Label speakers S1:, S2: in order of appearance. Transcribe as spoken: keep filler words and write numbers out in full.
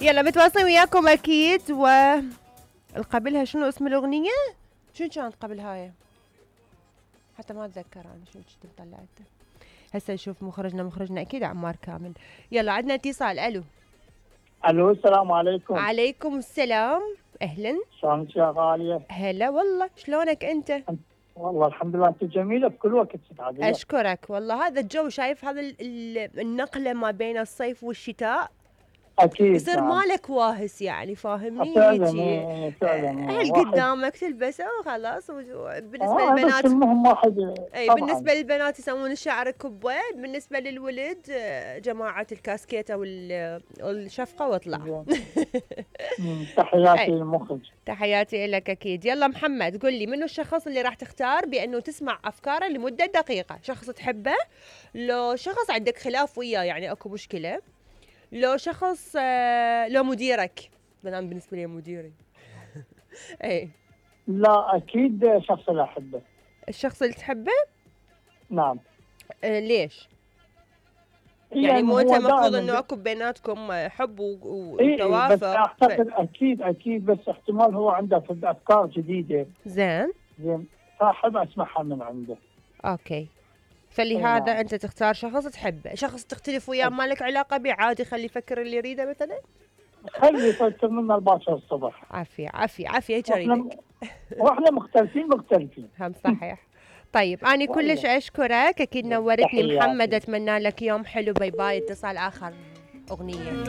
S1: يلا متواصلين وياكم اكيد. و قبلها شنو اسم الاغنيه؟ شنو كانت قبل هاي؟ حتى ما اتذكر انا شنو كنت طلعته. هسه نشوف مخرجنا مخرجنا اكيد عمار كامل. يلا عندنا اتصال. الو
S2: الو السلام عليكم.
S1: عليكم السلام. اهلا.
S2: شلونك يا غاليه؟
S1: هلا والله، شلونك انت؟
S2: والله الحمد لله، انت جميله بكل وقت. سعادة.
S1: اشكرك والله. هذا الجو شايف، هذا النقله ما بين الصيف والشتاء
S2: اكيد
S1: يصير
S2: نعم.
S1: مالك واهس يعني، فاهمني؟
S2: فعلا
S1: هيجي
S2: فعلا
S1: هل قدامك تلبسه وخلاص. بالنسبه
S2: آه
S1: للبنات
S2: المهم واحد.
S1: اي
S2: طبعاً.
S1: بالنسبه للبنات يسوون الشعر كبه، بالنسبه للولد جماعه الكاسكيته والشفقه واطلع.
S2: تحياتي للمخرج.
S1: تحياتي لك اكيد. يلا محمد قل لي، منو الشخص اللي راح تختار بانه تسمع افكاره لمده دقيقه؟ شخص تحبه، لو شخص عندك خلاف وياه يعني اكو مشكله، لو شخص لو مديرك؟ انا بالنسبه لي مديري. اي
S2: لا اكيد شخص اللي احبه.
S1: الشخص اللي تحبه؟
S2: نعم.
S1: آه ليش؟ يعني, يعني مو انت المفروض انه اكو بيناتكم حب وتوافق؟
S2: إيه بس اعتقد ف... اكيد اكيد بس احتمال هو عنده افكار جديده.
S1: زين
S2: زين فاحب اسمعها من عنده.
S1: اوكي. فلهذا نعم. انت تختار شخص تحبه. شخص تختلف وياه ما لك علاقه به عادي، خلي يفكر اللي يريده مثلا.
S2: خلي يفكر منا الباكر الصبح.
S1: عافيه عافيه عافيه جريدك.
S2: واحنا مختلفين مختلفين.
S1: هم صحيح. طيب أنا كلش أشكرك، أكيد نورتني محمد. أتمنى لك يوم حلو. باي باي. اتصال آخر أغنية.